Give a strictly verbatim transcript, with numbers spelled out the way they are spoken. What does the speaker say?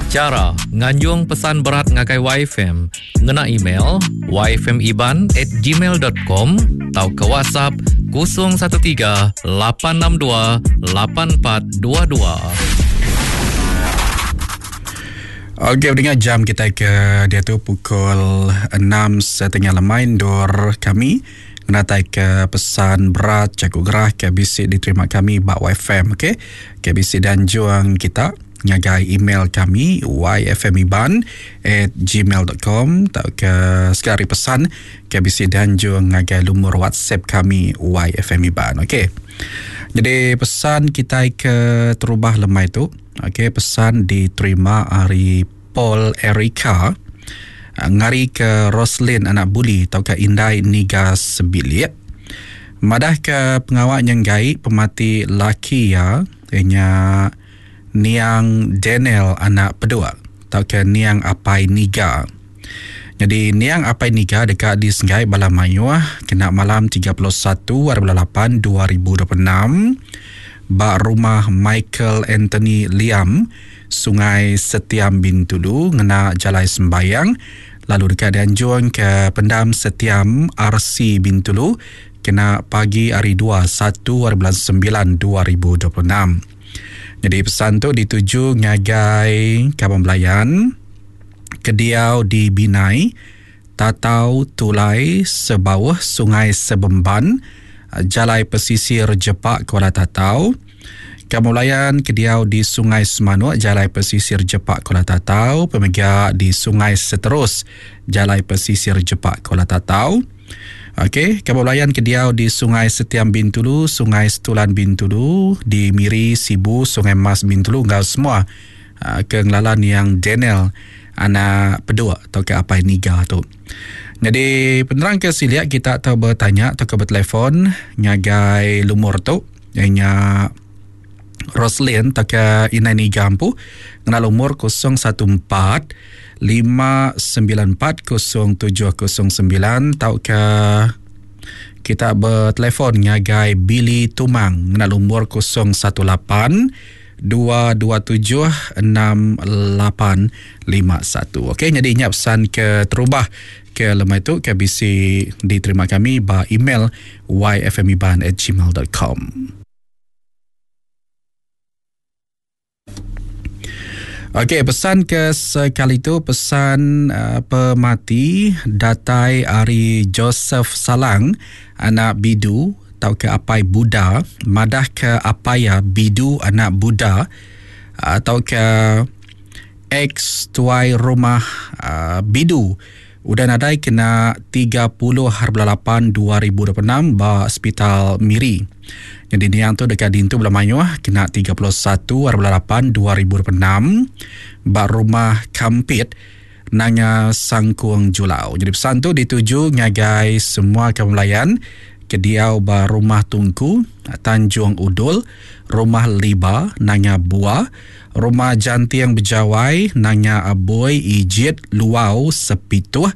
Chara nganjung pesan berat ngagai Y F M ngena email y f m iban at gmail dot com atau ke WhatsApp kosong satu tiga lapan enam dua lapan empat dua dua. Okey, dengar jam kita ke dia tu pukul enam setengah lemai dor kami menatai ke pesan berat cakap gerah ke B C diterima kami bak Y F M, okey. K B C dan juang kita ngagai email kami y f m iban at gmail dot com atau ke sekali pesan K B C dan juang ngagai lumur WhatsApp kami Y F M Iban, okey. Jadi pesan kita ke terubah lemai tu, okey, pesan diterima hari Paul Erika ngari ke Roslin anak buli atau ke Indai Niga Sebilik. Madah ke pengawak nyenggai pemati laki ya, ianya Niang Daniel anak pedua atau ke Niang Apai Niga. Jadi Niang Apai Niga dekat di Senggai Bala Mayuh kena malam tiga puluh satu hari bulan lapan dua ribu dua puluh enam ba rumah Michael Anthony Liam Sungai Setiam Bintulu ngena Jalai Sembayang lalu dekat dianjung ke Pendam Setiam R C Bintulu kena pagi hari dua satu hari bulan sembilan dua ribu dua puluh enam. Jadi pesan tu dituju ngagai Kabang Belayan Kediau di Binai Tatau Tulai Sebawah Sungai Sebemban Jalai Pesisir Jepak Kuala Tatau. Kabang Belayan Kediau di Sungai Semanuk Jalai Pesisir Jepak Kuala Tatau. Pemega di Sungai Seterus Jalai Pesisir Jepak Kuala Tatau. Okey, Kabang Belayan Kediau di Sungai Setiam Bintulu, Sungai Setulan Bintulu, di Miri, Sibu, Sungai Mas Bintulu, ngau semua uh, kengelalan yang Daniel anak pedua atau ke Apai Niga tu. Jadi penerang ke siliak kita tahu bertanya atau ke bertelefon ngagai lumur tu ianya Roslin atau ke Inai Niga ampu ngena lumur kosong satu empat lima sembilan empat kosong tujuh kosong sembilan atau ke kita bertelefon ngagai Billy Tumang ngena lumur kosong satu lapan dua dua tujuh enam lapan lima satu. Okey, jadi ingat pesan ke terubah ke lemai tu K B C diterima kami ba email y f m iban at gmail dot com. Okey, pesan ke sekali tu pesan uh, pemati datai ari Joseph Salang anak Bidu atau ke Apai Buddha madah ke Apaya Bidu anak Buddha atau ke ex tuai rumah uh, Bidu udah nadai kena tiga puluh hari bulan lapan dua ribu dua puluh enam ba Hospital Miri. Jadi niang tu dekat dintu bulan mayuh kena tiga puluh satu hari bulan lapan dua ribu dua puluh enam ba rumah Kampit Nanga Sangkuang Julau. Jadi pesan tu dituju ngagai semua kaum melayan kediau ba rumah Tungku Tanjung Udul, rumah Liba Nanga Bua, rumah Jantiang Bejawai Nanga Aboy Ijit Luau Sepituh